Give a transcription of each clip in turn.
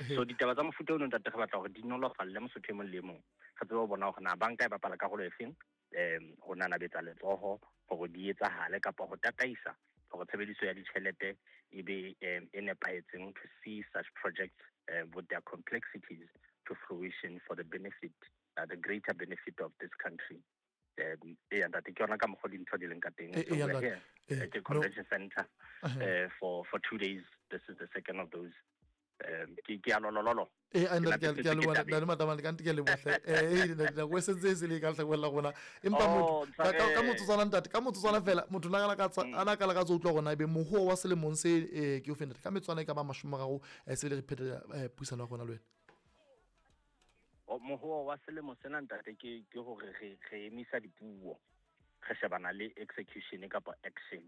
So ditaba tsa mofuta ono, ntate, re batla hore di nolofalle Mosotho e mong le e mong. Re tsebe ho bona hore na banka e bapala karolo e feng ho nanabetsa letsoho hore di etsahale kapa ho tataisa hore tshebediso ya ditjhelete e be e nepahetseng to see such projects with their complexities to fruition for the benefit the greater benefit of this country. Eya ntate, ke yona ka mokgwa dintho di leng ka teng. So we're here at the convention center for 2 days. This is the second of those. Ke a lolololo. Ee, a ntate, ke a leboha, ntate Matamane, ka nnete ke a leboha hle. Nako e sentse e se le ka lehlakoreng la rona, empa Oh, motho ka motsotswana, ntate, ka motsotswana fela, motho na ka ana ka lakatsa utlwa hore na ebe mohoa wa selemong se ke o fe, ntate, ka metswana e ka ba 30 se le re phetela puisano ya rona le wena. Mohoa wa selemo sena, ntate, ke hore re emisa dipuo, re shebana le execution kapa action,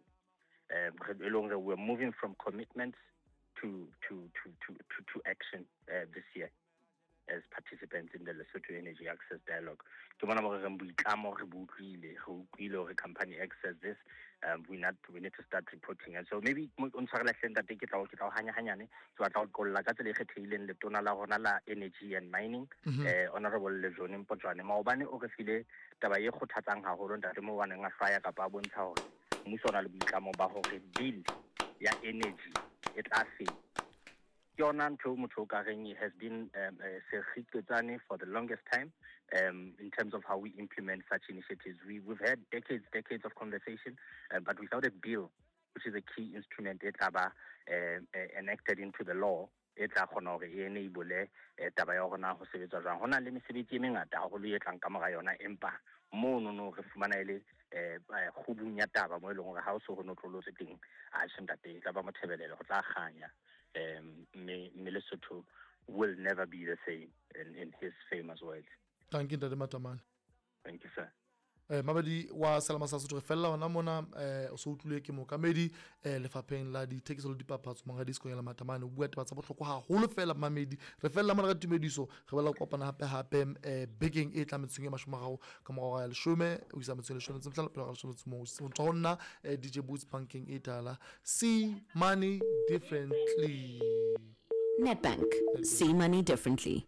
e leng re we're moving from commitments to action this year as participants in the Lesotho Energy Access Dialogue. Ke bona mo re reng boitlamo re bo utlwile, re utlwile hore company access this, we need to start reporting. And so maybe o ntshwarela hle, ntate, ke tla o hanya hanyane, ke batla ho qolla ka tsela e kgethehileng letona la rona la Energy and Mining, Honorable Lejone Mpotjoane. Maobane o re file taba e kgothatsang haholo, ntate, mo baneng a hlwaya kapa a bontsha hore mmuso o na le boitlamo ba hore bill ya energy e tla feta. Ke yona ntho eo motho o ka reng has been sekgiqetsane for the longest time in terms of how we implement such initiatives. We've had decades, decades of conversation, but without a bill, which is a key instrument e tla ba enacted into the law, e tla kgona hore e enable taba ya hore na ho sebetswa jwang. Ho na le mesebetsi e mengata haholo e tlang ka mora yona, empa mono no re fumana e le kgubung ya taba mo e leng hore ha o so ho notlolotswe teng, atjhe ntate, e tla ba mothebelelo, ho tla kganya, mme Lesotho will never be the same, in his famous words. Thank you, ntate Matamane. Thank you, sir. Mabedi wa Selama sa Sotho, re fella hona mona. O so utlwile ke mookamedi lefapheng la dithekiso le dipapatso, monghadi Sekonyela Matamane, o bua taba tsa bohlokwa haholo fela. Mamedi, re fella mona ka tumediso, re bala kopana hape hape bekeng e tlang metsotsong e 30 ka morao ya 10 ho isa metsotsong e 15 pele ga 11. Ho tswa ho nna, DJ Boots, bankeng e tala. See money differently. Nedbank. See money differently.